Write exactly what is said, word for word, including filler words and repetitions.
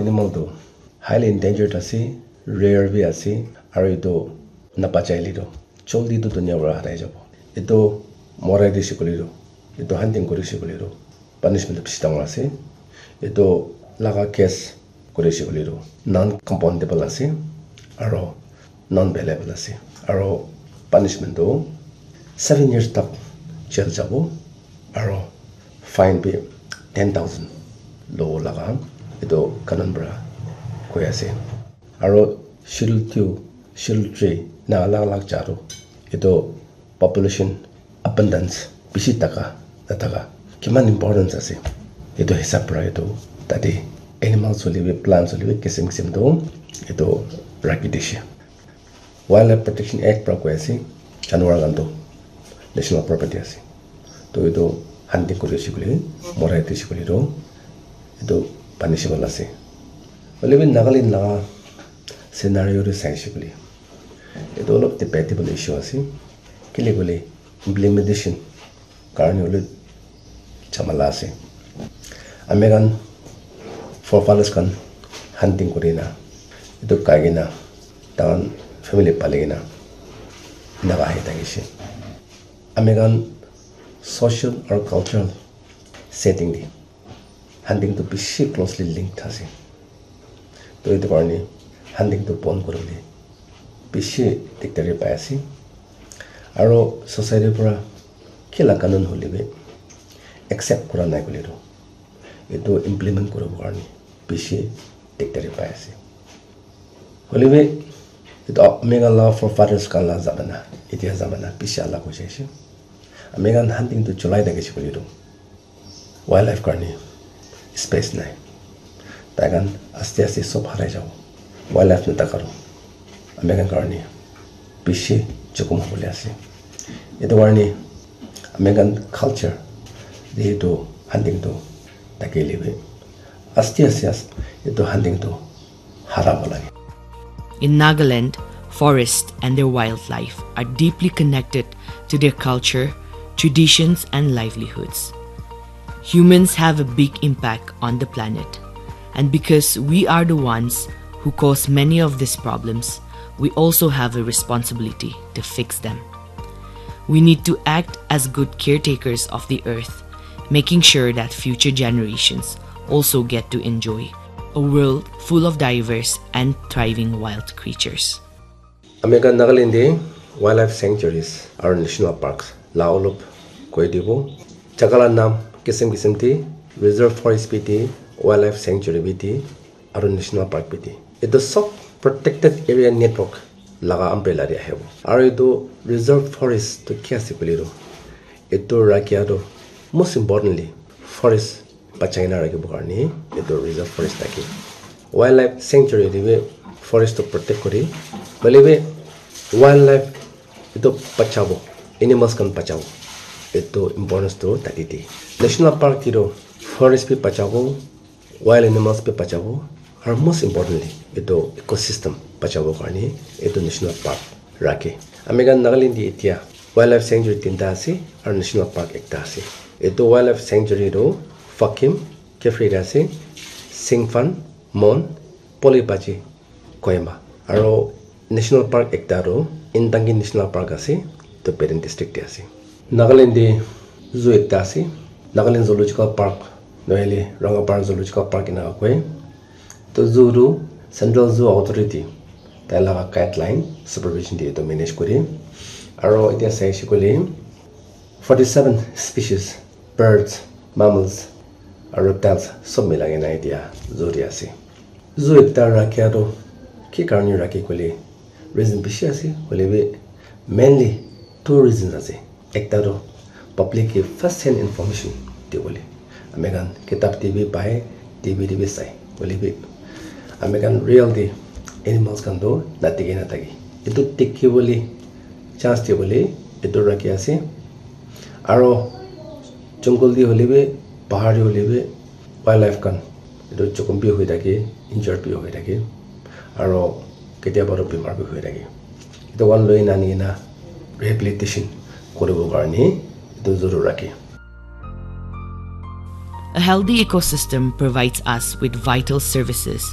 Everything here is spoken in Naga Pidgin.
Animal tu highly endangered ase, rare bi ase, aru etu nabachaile tu joldi tu dunia para harai jabo. Etu morai dise koile tu, etu hunting kuri dise koile tu punishment tu bishi dangor ase. Etu laga case kuri dise koile tu non compoundable ase, aru non bailable ase, aru punishment tu seven years tak jail jabo, aru fine bi ten thousand lobo laga etu kanun para koi ase. Aru schedule two, schedule three na alag alag jaga tu etu population abundance bishi thaka nathaka kiman importance ase, etu hisab para etu tate animals hoile bi, plants hoile bi, kisim kisim tu etu rakhi dise. Wildlife Protection Act para koi ase, janwar khan tu national property ase. To etu hunting kuri ase koile, morai dise koile tu etu punishable ase. Hoile bi Nagaland laga scenario te sai ase koile, etu olop debatable issue ase. Kile koile implementation karne hoile jhamala ase. Ami khan forefathers khan hunting kuri na, etu khai kena, tahan family pali kena, enaka ahi thakishe. Ami khan social or cultural setting te hunting tu bishi closely linked ase. To etu karne hunting tu bon kuribole bishi dikdari pai ase. Aro society para kila kanun hoile bi accept kura nai koile tu, etu implement kuribo karne bishi dikdari pai ase. Hoile bi etu ami khan la forefathers khan la zamana, etia zamana bishi alag hoi jaise. Ami khan hunting tu cholai thakishe koile tu wildlife karne space nai. Tai khan aste aste sob harai jabo. Wildlife nathaka tu ami khan karne bishi jokhom hobole ase. Etu karne ami khan culture te etu hunting tu thakile bi aste aste as-, etu hunting tu hara hobo lage. In Nagaland, forest and their wildlife are deeply connected to their culture, traditions, and livelihoods. Humans have a big impact on the planet, and because we are the ones who cause many of these problems, we also have a responsibility to fix them. We need to act as good caretakers of the earth, making sure that future generations also get to enjoy a world full of diverse and thriving wild creatures. Ami khan Nagaland te wildlife sanctuaries aru national parks la olop koi dibo. Jaga la naam kisim kisim te, reserve forest bi te, wildlife sanctuary bi te, aru national park bi te. Etu sob protected area network laga umbrella te ahibo. Aru etu reserve forest tu ki ase koile tu, etu rakha tu most importantly forest bachai na rakhibo karne etu reserve forest thake. Wildlife sanctuary te bi forest tu protect kore, hoile bi wildlife etu bachabo, animals khan bachabo, etu importance tu tate de. National park te tu forest bi bachabo, wild animals bi bachabo, aru most importantly etu ecosystem bachabo karne etu national park rakhe. Ami khan Nagaland te etia wildlife sanctuary tinta ase aru national park ekta ase. Etu wildlife sanctuary tu Fakim, Kiphire te ase, Singphan, Mon, Polypachi, Kohima. Aru national park ekta tu Indangi National Park ase, etu Peren district te ase. Nagaland te zoo ekta ase, Nagaland Zoological Park, nohole Rangapara Zoological Park ena koi. To zoo tu Central Zoo Authority, tai laga guideline, supervision te etu manage kore. Aru etia sai ase koile forty seven species, birds, mammals, aru reptiles sob milai kena etia zoo te ase. Zoo ekta rakhia tu ki karne rakhe koile reason bishi ase, hoile bi mainly two reasons ase. Ekta tu public ke first hand information dibole. Ami khan kitab te bi pai, T V te bi sai, hoile bi ami khan real te animals khan tu nadikhi nathake. Etu dikhibole chance dibole etu rakhi ase. Aro jungle te hoile bi, bahar te hoile bi, wildlife khan etu jokhom bi hoi thake, injured bi hoi thake, aro ketiaba toh bimar bi hoi thake. Etu khan loi na ani kena rehabilitation kuribo karne etu zoo te rakhe. A healthy ecosystem provides us with vital services